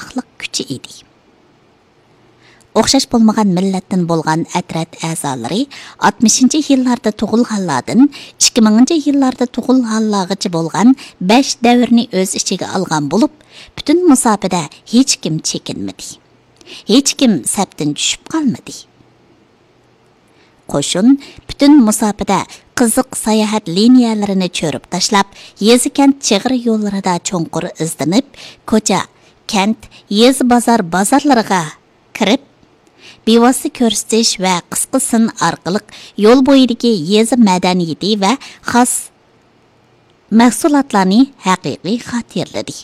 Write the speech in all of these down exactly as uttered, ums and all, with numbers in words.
چىقىقلىق كۈچى ئىدى. ئوخشاش بولمىغان مىللەتتىن بولغان ئەترەت ئەزالىرى ئاتمىشىنچى يىللاردا تۇغۇلغانلاردىن ئىككى مىڭىنچى يىللاردا تۇغۇلغانلارغىچە بولغان بەش دەۋرنى ئۆز ئىچىگە ئالغان بولۇپ، پۈتۈن مۇساپىدە ھېچكىم چېكىنمىدى. ھېچكىم سەپتىن چۈشۈپ قالمىدى. قوشۇن پۈتۈن مۇساپىدە قىزىق ساياھەت لىنىيەلىرىنى چۆرۈپ تاشلاپ، يېزا-كەنت چېگرا يوللىرىدا چوڭقۇر ئىزدىنىپ، كوچا، كەنت، يېزا-بازار بازارلىرىغا كىرىپ، بىۋاسىتە كۆرسىتىش ۋە قىسقا سىن ئارقىلىق يول بويىدىكى يېزا مەدەنىيىتى ۋە خاس مەھسۇلاتلارنى ھەقىقىي خاتىرىلىدى.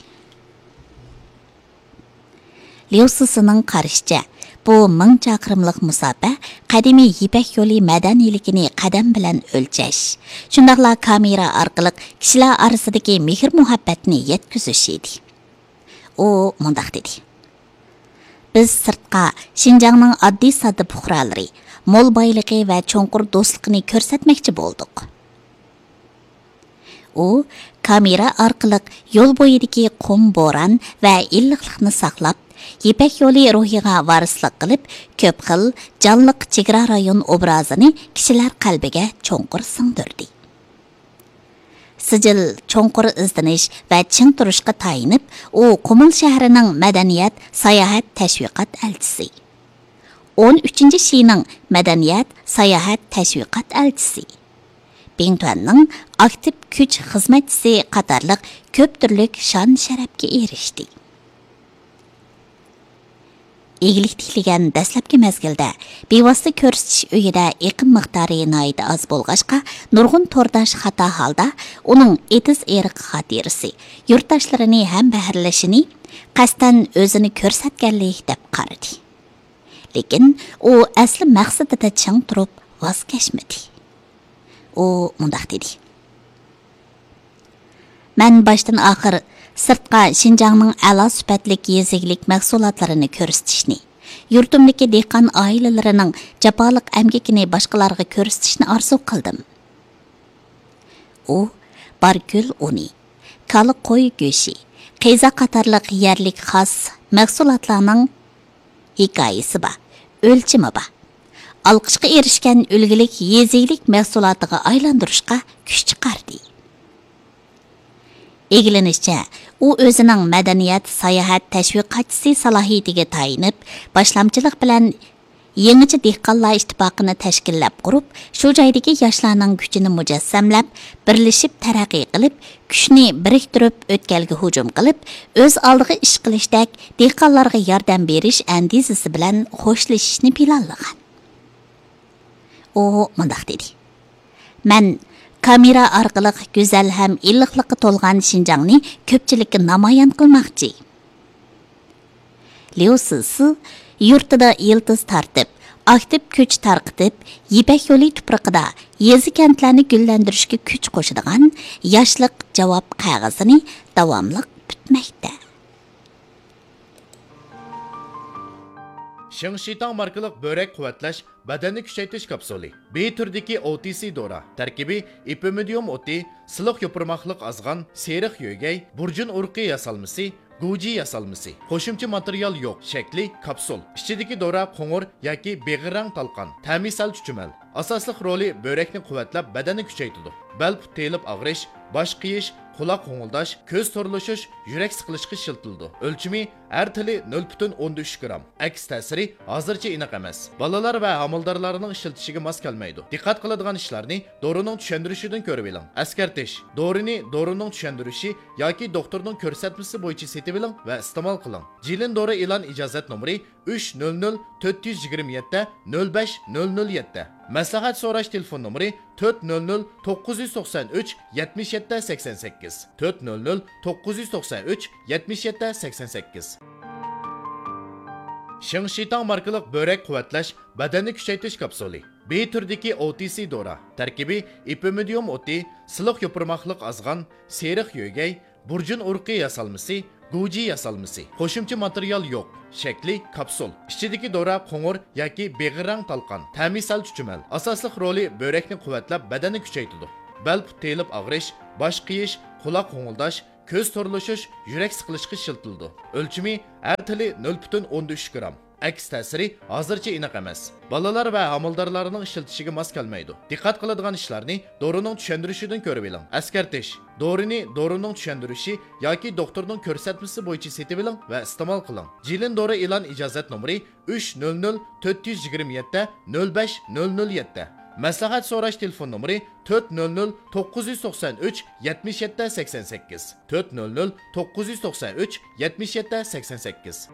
ليۇ سىسىنىڭ قارىشىچە، بۇ مىڭ چاقىرىملىق مۇساپە قەدىمىي يىپەك يولى مەدەنىيلىكىنى قەدەم بىلەن ئۆلچەش، شۇنداقلا كامېرا ئارقىلىق كىشىلەر ئارىسىدىكى مېھىر-مۇھەببەتنى يەتكۈزۈش ئىدى. ئۇ مۇنداق دېدى: بىز سىرتقا شىنجاڭنىڭ ئاددىي-ساددا پۇقرالىرى، مول بايلىقى ۋە چوڭقۇر دوستلۇقىنى كۆرسەتمەكچى بولدۇق. ئۇ كامېرا ئارقىلىق يول بويىدىكى قۇم بوران ۋە ئىللىقلىقنى ساقلاپ، يىپەك يولى روھىغا ۋارىسلىق قىلىپ، كۆپ خىل جانلىق چېگرا رايون ئوبرازىنى كىشىلەر قەلبىگە چوڭقۇر سىڭدۈردى. سىجىل چوڭقۇر ئىزدىنىش ۋە چىڭ تۇرۇشقا تايىنىپ، ئۇ قۇمۇل شەھىرىنىڭ مەدەنىيەت ساياھەت تەشۋىقات ئەلچىسى، ئون ئۈچىنچى شىنىڭ مەدەنىيەت ساياھەت تەشۋىقات ئەلچىسى، بىڭتۈەننىڭ ئاكتىپ كۈچ خىزمەتچىسى قاتارلىق كۆپ تۈرلۈك شان-شەرەپكە ئېرىشتى. ئىگىلىك تىكلىگەن دەسلەپكى مەزگىلدە بىۋاسىتە كۆرسىتىش ئۆيىدە ئېقىم مىقدارى ناھايىتى ئاز بولغاچقا، نۇرغۇن تورداش خاتا ھالدا ئۇنىڭ ئېتىز-ئېرىق خاتىرىسى، يۇرتداشلىرىنى ھەمبەھىرلىشىنى قەستەن ئۆزىنى كۆرسەتكەنلىك دەپ قارىدى. لېكىن ئۇ ئەسلى مەقسىتىدە چىڭ تۇرۇپ ۋاز كەچمىدى. ئۇ مۇنداق دېدى: مەن باشتىن ئاخىر سىرتقا شىنجاڭنىڭ ئەلا سۈپەتلىك يېزا ئىگىلىك مەھسۇلاتلىرىنى كۆرسىتىشنى، يۇرتۇمدىكى دېھقان ئائىلىلىرىنىڭ جاپالىق ئەمگىكىنى باشقىلارغا كۆرسىتىشنى ئارزۇ قىلدىم. ئۇ بارگۈل ئۇنى، كالا قوي گۆشى، قىيزا قاتارلىق يەرلىك خاس مەھسۇلاتلارنىڭ ھېكايىسى بار، ئۆلچىمى بار، ئالقىشقا ئېرىشكەن ئۈلگىلىك يېزا ئىگىلىك مەھسۇلاتىغا ئايلاندۇرۇشقا كۈچ چىقاردى. ئىگىلىنىشىچە، ئۇ ئۆزىنىڭ مەدەنىيەت ساياھەت تەشۋىقاتچىسى سالاھىيىتىگە تايىنىپ، باشلامچىلىق بىلەن يېڭىچە دېھقانلار ئىتتىپاقىنى تەشكىللەپ قۇرۇپ، شۇ جايدىكى ياشلارنىڭ كۈچىنى مۇجەسسەملەپ، بىرلىشىپ تەرەققىي قىلىپ، كۈچنى بىرىكتۈرۈپ، ئۆتكەلگە ھۇجۇم قىلىپ، ئۆز ئالدىغا ئىش قىلىشتەك دېھقانلارغا ياردەم بېرىش ئەندىزىسى بىلەن خوشلىشىشنى پىلانلىغان. ئۇ مۇنداق دېدى: مەن كامېرا ئارقىلىق گۈزەل ھەم ئىللىقلىققا تولغان شىنجاڭنى كۆپچىلىككە نامايان قىلماقچى. ليۇ سىسى يۇرتىدا يىلتىز تارتىپ، ئاكتىپ كۈچ تارقىتىپ، يىپەك يولى تۇپرىقىدا يېزا-كەنتلەرنى گۈللەندۈرۈشكە كۈچ قوشىدىغان ياشلىق جاۋاب قەغىزىنى داۋاملىق پۈتمەكتە. شىڭشىتاڭ ماركىلىق بۆرەك قۇۋۋەتلەش بەدەننى كۈچەيتىش كاپسۇلى. بى تۈرىدىكى ئو تى سى دورا. تەركىبى ئېپىمىدىيۇم ئوتى، سىلىق يوپۇرماقلىق ئازغان، سېرىق يۆگەي، بۇرجۇن ئۇرۇقى ياسالمىسى، گۇجى ياسالمىسى. قوشۇمچە ماتېرىيال يوق. شەكلى كاپسۇل. ئىچىدىكى دورا قوڭۇر ياكى بېغىر رەڭ تالقان. تەمى سەل چۈچۈمەل. ئاساسلىق رولى بۆرەكنى قۇۋۋەتلەپ، بەدەننى كۈچەيتىدۇ. بەل پۇت تېيىلىپ ئاغرىش، باش قېيىش، قۇلاق غوڭۇلداش، كۆز تورلىشىش، يۈرەك سىقىلىشقا ئىشلىتىلىدۇ. ئۆلچىمى ھەر تېلى نۆل پۈتۈن ئوندىن ئۈچ گرام. ئەكس تەسىرى ھازىرچە ئېنىق ئەمەس. بالىلار ۋە ھامىلىدارلارنىڭ ئىشلىتىشىگە ماس كەلمەيدۇ. دىققەت قىلىدىغان ئىشلارنى دورىنىڭ چۈشەندۈرۈشىدىن كۆرۈۋېلىڭ. ئەسكەرتىش: دورىنى دورىنىڭ چۈشەندۈرۈشى ياكى دوختۇرنىڭ كۆرسەتمىسى بويىچە سېتىۋېلىڭ ۋە ئىستېمال قىلىڭ. جىلىن دورا ئېلان ئىجازەت نومۇرى ئۈچ نۆل نۆل تۆت يۈز يىگىرمە يەتتە نۆل بەش نۆل نۆل يەتتە. مەسلىھەت سوراش تېلېفون نومۇرى تۆت نۆل نۆل توققۇز يۈز توقسان ئۈچ يەتمىش يەتتە سەكسەن سەككىز، تۆت نۆل نۆل توققۇز يۈز توقسان ئۈچ يەتمىش يەتتە سەكسەن سەككىز. شىڭشىتاڭ ماركىلىق بۆرەك قۇۋۋەتلەش بەدەننى كۈچەيتىش كاپسۇلى. بى تۈرىدىكى ئو تى سى دورا. تەركىبى ئېپىمىدىيۇم ئوتى، سىلىق يوپۇرماقلىق ئازغان، سېرىق يۆگەي، بۇرجۇن ئۇرۇقى ياسالمىسى، گۇجى ياسالمىسى. قوشۇمچە ماتېرىيال يوق. شەكلى كاپسۇل. ئىچىدىكى دورا قوڭۇر ياكى بېغىر رەڭ تالقان. تەمى سەل چۈچۈمەل. ئاساسلىق رولى بۆرەكنى قۇۋۋەتلەپ، بەدەننى كۈچەيتىدۇ. بەل پۇت تېيىلىپ ئاغرىش، باش قېيىش، قۇلاق غوڭۇلداش، كۆز تورلىشىش، يۈرەك سىقىلىشقا ئىشلىتىلىدۇ. ئۆلچىمى ھەر تىلى نۆل پۈتۈن ئوندىن ئۈچ گرام. ئەكس تەسىرى ھازىرچە ئېنىق ئەمەس. بالىلار ۋە ھامىلىدارلارنىڭ ئىشلىتىشىگە ماس كەلمەيدۇ. دىققەت قىلىدىغان ئىشلارنى دورىنىڭ چۈشەندۈرۈشىدىن كۆرۈۋېلىڭ. ئەسكەرتىش: دورىنى دورىنىڭ چۈشەندۈرۈشى ياكى دوختۇرنىڭ كۆرسەتمىسى بويىچە سېتىۋېلىڭ ۋە ئىستېمال قىلىڭ. جىلىن دورا ئېلان ئىجازەت نومۇرى ئۈچ نۆل نۆل تۆت يۈز يىگىرمە يەتتە نۆل بەش نۆل نۆل يەتتە. مەسلىھەت سوراش تېلېفون نومۇرى تۆت نۆل نۆل توققۇز يۈز توقسان ئۈچ يەتمىش يەتتە سەكسەن سەككىز، تۆت نۆل نۆل توققۇز يۈز توقسان ئۈچ يەتمىش يەتتە سەكسەن سەككىز.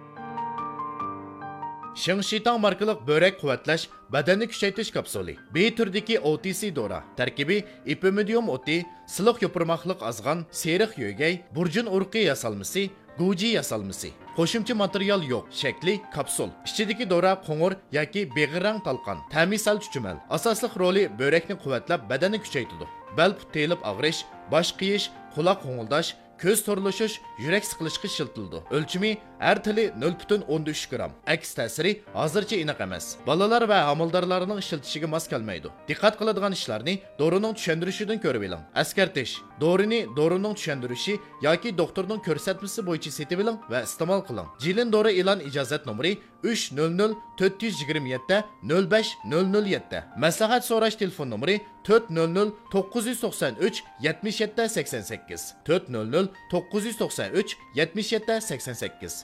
شىڭشىتاڭ ماركىلىق بۆرەك قۇۋۋەتلەش، بەدەننى كۈچەيتىش كاپسۇلى. بى تۈرىدىكى ئو تى سى دورا. تەركىبى: ئېپىمىدىيۇم ئوتى، سىلىق يوپۇرماقلىق ئازغان، سېرىق يۆگەي، بۇرجۇن ئۇرۇقى ياسالمىسى، گۇجى ياسالمىسى. قوشۇمچە ماتېرىيال يوق. شەكلى كاپسۇل. ئىچىدىكى دورا قوڭۇر ياكى بېغىر رەڭ تالقان. تەمى سەل چۈچۈمەل. ئاساسلىق رولى: بۆرەكنى قۇۋۋەتلەپ، بەدەننى كۈچەيتىدۇ. بەل پۇت تېيىلىپ ئاغرىش، باش قېيىش، قۇلاق غوڭۇلداش، كۆز تورلىشىش، يۈرەك سىقىلىشقا ئىشلىتىلىدۇ. ئۆلچىمى: ھەر تىلى نۆل پۈتۈن ئوندىن ئۈچ گرام. ئەكس تەسىرى ھازىرچە ئېنىق ئەمەس. بالىلار ۋە ھامىلىدارلارنىڭ ئىشلىتىشىگە ماس كەلمەيدۇ. دىققەت قىلىدىغان ئىشلارنى دورىنىڭ چۈشەندۈرۈشىدىن كۆرۈۋېلىڭ. ئەسكەرتىش: دورىنى دورىنىڭ چۈشەندۈرۈشى ياكى دوختۇرنىڭ كۆرسەتمىسى بويىچە سېتىۋېلىڭ ۋە ئىستېمال قىلىڭ. جىلىن دورا ئېلان ئىجازەت نومۇرى ئۈچ نۆل نۆل تۆت يۈز يىگىرمە يەتتە نۆل بەش نۆل نۆل يەتتە. مەسلىھەت سوراش تېلېفون نومۇرى تۆت نۆل نۆل توققۇز يۈز توقسان ئۈچ يەتمىش يەتتە سەكسەن سەككىز، تۆت نۆل نۆل توققۇز يۈز توقسان ئۈچ يەتمىش يەتتە سەكسەن سەككىز.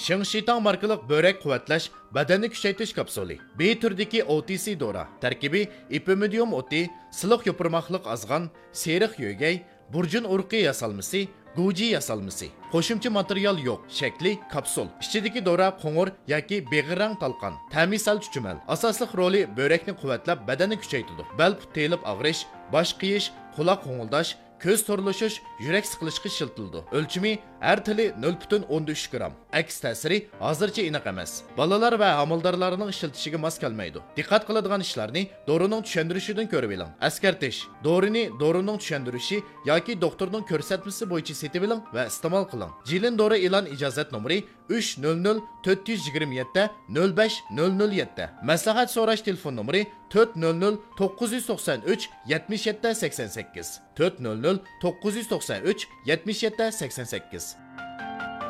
شىڭشىتاڭ ماركىلىق بۆرەك قۇۋۋەتلەش، بەدەننى كۈچەيتىش كاپسۇلى. بى تۈرىدىكى ئو تى سى دورا. تەركىبى: ئېپىمىدىيۇم ئوتى، سىلىق يوپۇرماقلىق ئازغان، سېرىق يۆگەي، بۇرجۇن ئۇرۇقى ياسالمىسى، گۇجى ياسالمىسى. قوشۇمچە ماتېرىيال يوق. شەكلى كاپسۇل. ئىچىدىكى دورا قوڭۇر ياكى بېغىر رەڭ تالقان. تەمى سەل چۈچۈمەل. ئاساسلىق رولى: بۆرەكنى قۇۋۋەتلەپ، بەدەننى كۈچەيتىدۇ. بەل پۇت تېيىلىپ ئاغرىش، باش قېيىش، قۇلاق غوڭۇلداش، كۆز تورلىشىش، يۈرەك سىقىلىشقا ئىشلىتىلىدۇ. ئۆلچىمى: ھەر تىلى نۆل پۈتۈن ئوندىن ئۈچ گرام. ئەكس تەسىرى ھازىرچە ئېنىق ئەمەس. بالىلار ۋە ھامىلىدارلارنىڭ ئىشلىتىشىگە ماس كەلمەيدۇ. دىققەت قىلىدىغان ئىشلارنى دورىنىڭ چۈشەندۈرۈشىدىن كۆرۈۋېلىڭ. ئەسكەرتىش: دورىنى دورىنىڭ چۈشەندۈرۈشى ياكى دوختۇرنىڭ كۆرسەتمىسى بويىچە سېتىۋېلىڭ ۋە ئىستېمال قىلىڭ. جىلىن دورا ئېلان ئىجازەت نومۇرى ئۈچ نۆل نۆل تۆت يۈز يىگىرمە يەتتە نۆل بەش نۆل نۆل يەتتە. مەسلىھەت سوراش تېلېفون نومۇرى تۆت نۆل نۆل توققۇز يۈز توقسان ئۈچ يەتمىش يەتتە سەكسەن سەككىز، تۆت نۆل نۆل توققۇز يۈز توقسان ئۈچ يەتمىش يەتتە سەكسەن سەككىز.